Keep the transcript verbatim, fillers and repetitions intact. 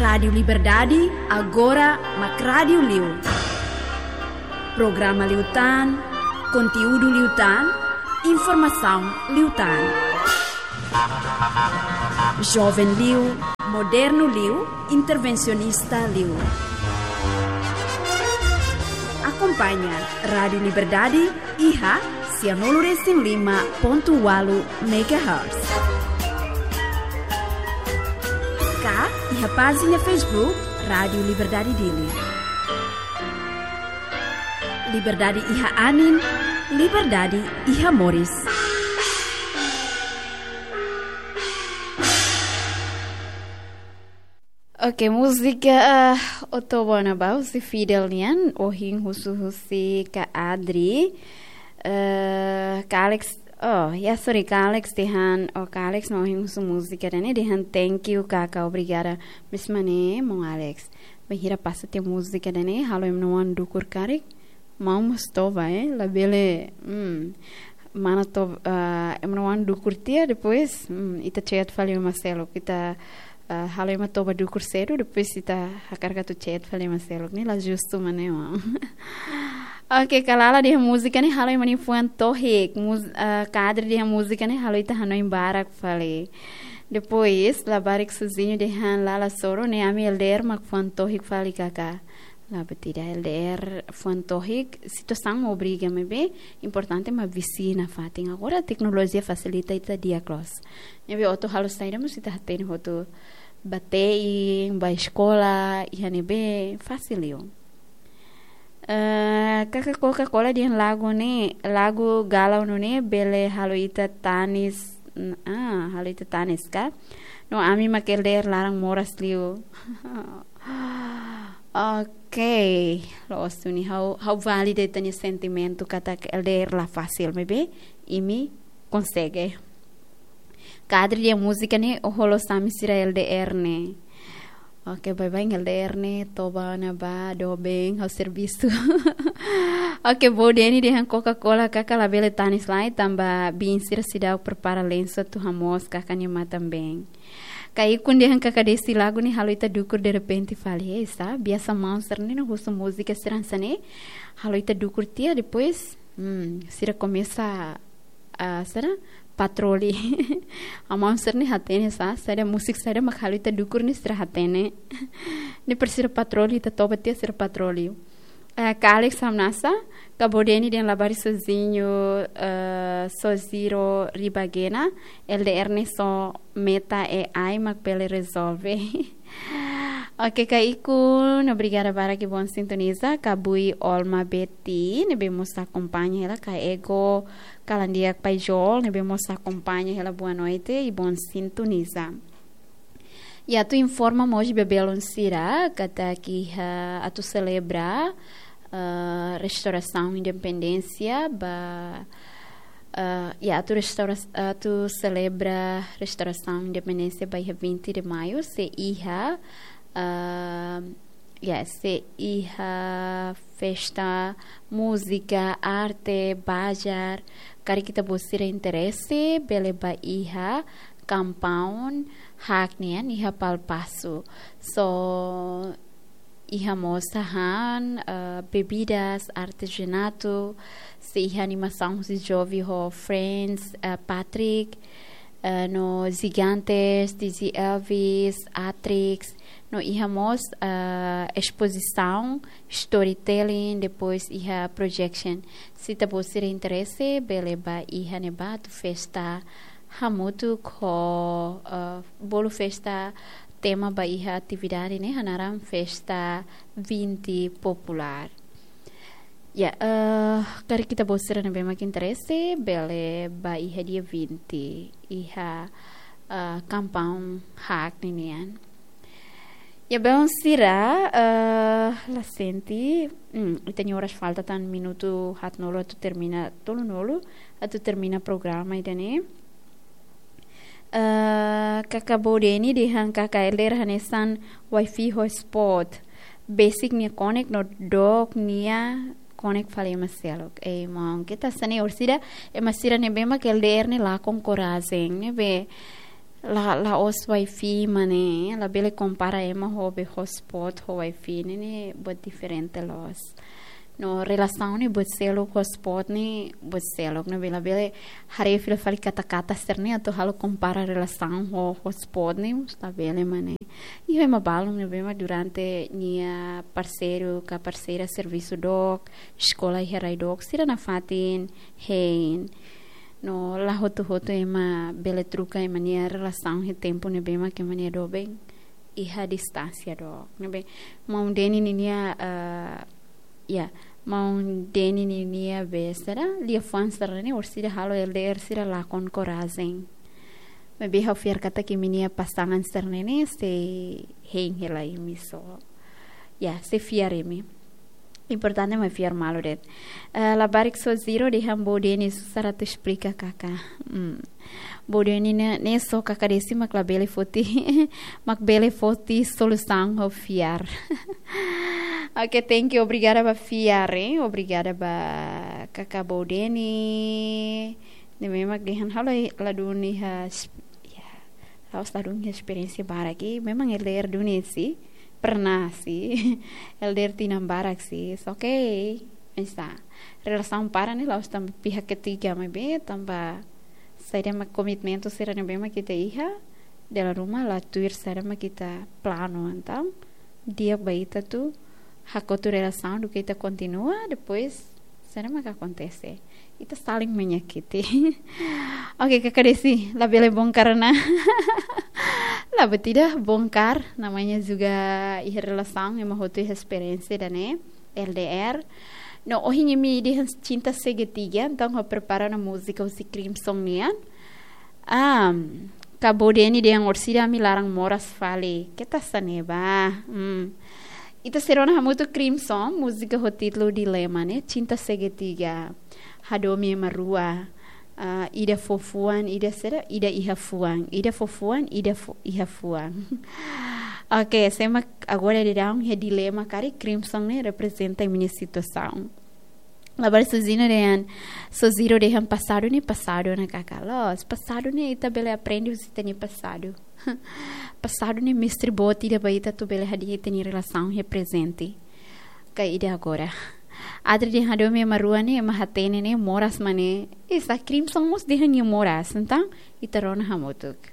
Rádiu Liberdade, agora mak rádiu liu. Programa liután, konteúdu liután, informasaun liután. Joven liu, modernu liu, intervensionista liu. Akompaña Rádiu Liberdade iha sianulu resin lima pontu ualu megahertz. Ka iha pájina Facebook Rádiu Liberdade Dili. Liberdade iha anin, liberdade iha moris. Oke, múzika, ah, O Toba Ona Ba husi Fidel nian, ohin husu-husi Ka Adri. Eh, Ka Alex, oh, ya, sorry, Ka Alex dehan, oh, Ka Alex mak ohin husu múzika ida-ne'e, dehan thank you, Kaka, obrigada. Mesma ne'e, maun Alex. Bainhira pasa tiha múzika ida-ne'e, halo ema nia oan dukur karik. Maun mós toba, eh, labele, hmm, mana toba, ah, ema nia oan dukur tiha, depois, hmm, ita chat fali ema seluk, ita, ah, halo ema toba dukur sedu, depois ita hakarak atu chat fali ema seluk, ne'e la justu mak ne'e, maun. Oke, Ka Lala dehan múzika ne'e halo ema nia fuan tohik, mus-, ah, Ka Adri dehan múzika ne'e halo ita hanoin barak fali. Depois, labarik Suzinho dehan Lala Soro ne'e ami L D R mak fuan tohik fali, Kaka. La buat ida, L D R fuan tohik, situasaun mak obriga maibé, importante mak visi nafatin. Agora teknolojia fasilita ita di'ak loos. Ne'ebé atu halo saida mós ita hatene hotu, bá te'in, bá eskola, iha ne'ebé fasil liu. Eh, Kaka Coca-Cola dehan lagu ne'e, lagu galau nune'e bele halo ita tanis, n-, ah, halo ita tanis ka? No ami mak L D R laran moras liu. Oke, loos duni, ha'u, ha'u valida ita-nia sentimentu katak L D R la fasil, maibé imi konsege. Ka Adri dehan múzika ne'e, oh, halo sami sira L D R ne'e. Oke, baibain L D R ne'e, Toba Ona Ba, doben, ha'u servisu. Oke, Bo Deni dehan Coca-Cola, Kaka labele tanis lai, tanba biin sira seidauk prepara lensu atu hamoos Kaka nia matan-been. Ka Ikun dehan Kaka Desi lagu ne'e halo ita dukur derrepente fali. Eh, sa, biasa maun sira ne'e no husu múzika sira hanesan ne'e, halo ita dukur tiha, depois, hmm, sira komesa, ah, sira patroli. Maun sira ne'e hatene sa, saida múzika saida mak halo ita dukur ne'e sira hatene. Ne'e para sira patroli, ita toba tiha sira patroli. Eh, Ka Alex hamnasa, Ka Bo Deni dehan labarik Suzinho, eh, Soziro Ribagena, L D R ne'e só Meta A I mak bele rezolve. Oke, Ka Ikun, obrigada barak i bom sintoniza, Ka Bui Olma Betty, ne'ebé mós akompaña hela, Ka Ego, Kalandiak Paijol, ne'ebé mós akompaña hela, boa noite i bom sintoniza. I atu informa mós ba belun sira, katak iha atu selebra, eh, restaurasaun independénsia ba, eh, i atu restaura-, atu selebra restaurasaun independénsia ba iha vinte de maio, sei iha, eh, ya, sei iha festa, múzika, arte, bazar, karik ita-boot sira interese, bele bá iha compound Haak nian iha Palpasu. So, iha mós hahán, eh, bebidas, artezanatu, sei iha animasaun husi Jovi ho Friends, eh, Patrick, eh, no Gigantes, D J Elvis, Atrix, no iha mós, eh, espozisaun, storytelling, depois iha projection. Se ita-boot sira interese, bele bá iha ne'ebá atu festa hamutuk ho, eh, bolu festa tema ba iha atividade ne'e hanaran festa vinte popular. Ya, eh, karik ita-boot sira ne'ebé mak interese, bele bá iha dia vinte, iha, eh, compound Haak ninian. Ya, belun sira, eh, la sente, hmm, ita-nia oras falta tan minutu haatnulu atu termina, tolunulu atu termina programa ida-ne'e. Eh, Kaka Bo Deni dehan Kaka L D R hanesan wifi hotspot. Besik nia konek no dook nia konek fali ema seluk. Ei, maun, keta sane orsida, ema sira ne'ebé mak L D R ne'e lakon korajen, ne'ebé La, la'ós wifi, maun, labele kompara ema ho be hotspot ho wifi ne'e, ne'e buat diferente loos. No relasaun ne'e buat seluk, hotspot ne'e buat seluk, ne'ebé labele haree fila fali kata-kata sira-ne'e atu halo kompara relasaun ho hotspot ne'e, labele, maun. Iha ema balun ne'ebé mak durante nia parseiru ka parseira servisu dook, eskola iha rai dook, sira nafatin hein. No la hotu-hotu ema bele troka ema nia relasaun iha tempu ne'ebé mak ema nia doben iha distánsia dook. Ne'ebé maun Deni ninia, eh, ya, maun Deni ninia be sira, liafuan sira-ne'e orsida halo L D R sira lakon korajen. Maibé ha'u fiar katak imi-nia pasangan sira-ne'e sei hein hela imi sira. Ya, sei fiar imi. Importante mak fiar malu de'it. Eh, labarik Soziro dehan Bo Deni susar atu esplika kaka. Hmm. Bo Deni ne'e, ne'e só kaka Desi mak labele foti, mak bele foti solusaun ho fiar. Oke, thank you. Obrigada ba fiar, eh. Obrigada ba kaka Bo Deni. Ne'e memang dehan ha'u la, la duni iha, ya, la'ós la duni iha esperiénsia barak, eh. Memang L D R duni sih, pernah sih. L D R tinan barak sih. It's okay. Bisa. Relasaun para ne'e la'ós tanba pihak ketiga, maibé tanba saida mak komitmentu sira ne'ebé mak ita iha, dala ruma la tuir saida mak ita planu, entaun di'ak ba ita atu hakotu relasaun duké ita kontinua, depois saida mak akontese. Ita saling menyakiti. Oke, kaka Desi, labele bongkar ona. La, buat ida bongkar, namanya juga iha relasaun, ema hotu iha esperiénsia ida-ne'e, L D R. No, ohin imi dehan cinta segitiga, entaun ha'u prepara ona múzika husi Crimson nian. Ah, kaka Bo Deni dehan orsida ami laran moras fali. Keta hanesan ne'e ba. Hmm. Ita sei rona hamutuk Crimson, múzika ho títulu Dilema ne'e, cinta segitiga. Hadomi ema rua. Ah, ida fó fuan, ida sira, ida iha fuan. Ida fó fuan, ida fó, iha fuan. Oke, sé mak agora daudaun iha dilema karik, Crimson ne'e reprezenta imi-nia situasaun. Labarik Soziro dehan, Soziro dehan pasadu ne'e pasadu ona kaka. Loos, pasadu ne'e ita bele aprende husi ita-nia pasadu. Pasadu ne'e mestre boot ida ba ita atu bele hadi'a ita-nia relasaun iha prezente ka ida agora. Adri dehan hadomi ema rua ne'e, ema hatene ne'e moras, maun. Isa, Crimson mós dehan nia moras, entaun ita rona hamutuk.